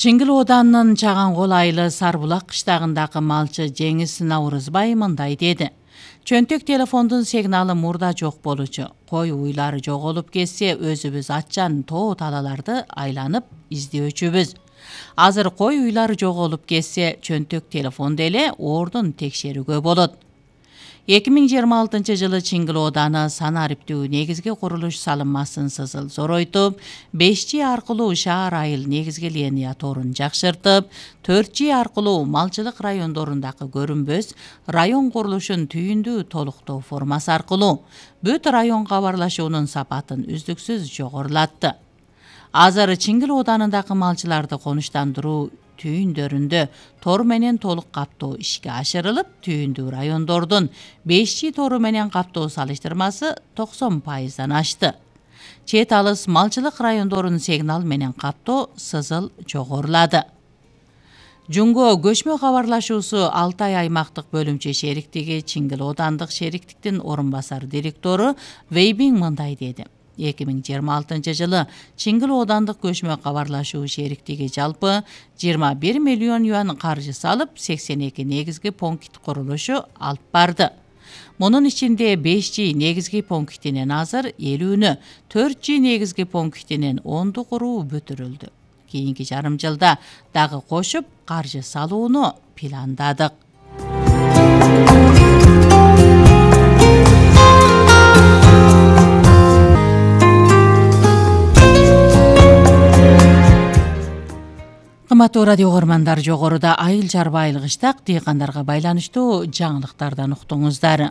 Чыңгыл Оданынын Чаган Кол айылы Сарбулак кыштагындагы малчы Жеңис Наурызбай мындай деди. Чөнтөк телефондун сигналы мурда жок болчу. Кой уйлары жоголуп кетсе, өзүбүз атчан тоо талаларды айланып издөөчүбүз. Азыр кой уйлары жоголуп кетсе, чөнтөк телефон деле ордун текшерүүгө болот. 2026 жылы Чыңгыл Ооданы санариптүү негизги курулуш салынмасын сызыл зоройтуп, 5G аркылуу шаар айыл негизги линия торун жакшыртып, 4G аркылуу малчылык райондорундагы көрүнбөс район курулушун түйүндүү толуктоо формасы аркылуу бүт район кабарлашуунун сапатын үздүксүз жогорулатты. Азыр Чыңгыл Оодынындагы малчыларды конуштандыруу түйүндөрүндө тор менен толук каптоо ишке ашырылып, түйүндүү райондордун 5G тору менен каптоо салыштырмасы 90%дан ашты. Чет алыс малчылык райондорун сигнал менен каптоо сызыл жогорулады. Жунго көчмө кабарлашуусу Алтай аймактык бөлүмчө шериктиги Чыңгыл Оодандык шериктиктин орун басар директору Вейбиң мындай деди. 2026 жылы Чыңгыл Оодандык көчмө кабарлашуу шериктиги жалпы 21 миллион юан каржы салып, 82 негизги пункт курулушу алып барды. Мунун ичинде 5G негизги пунктинен азыр 50-нү, 4G негизги пунктинен 10-ду куруу бүтүрүлдү. Кийинки жарым жылда дагы кошуп каржы салууну пландадык. Кымбаттуу радио көрөрмандар, жогоруда айыл чарба айыл кыштак дыйкандарга байланыштуу жаңылыктардан уктуңуздар.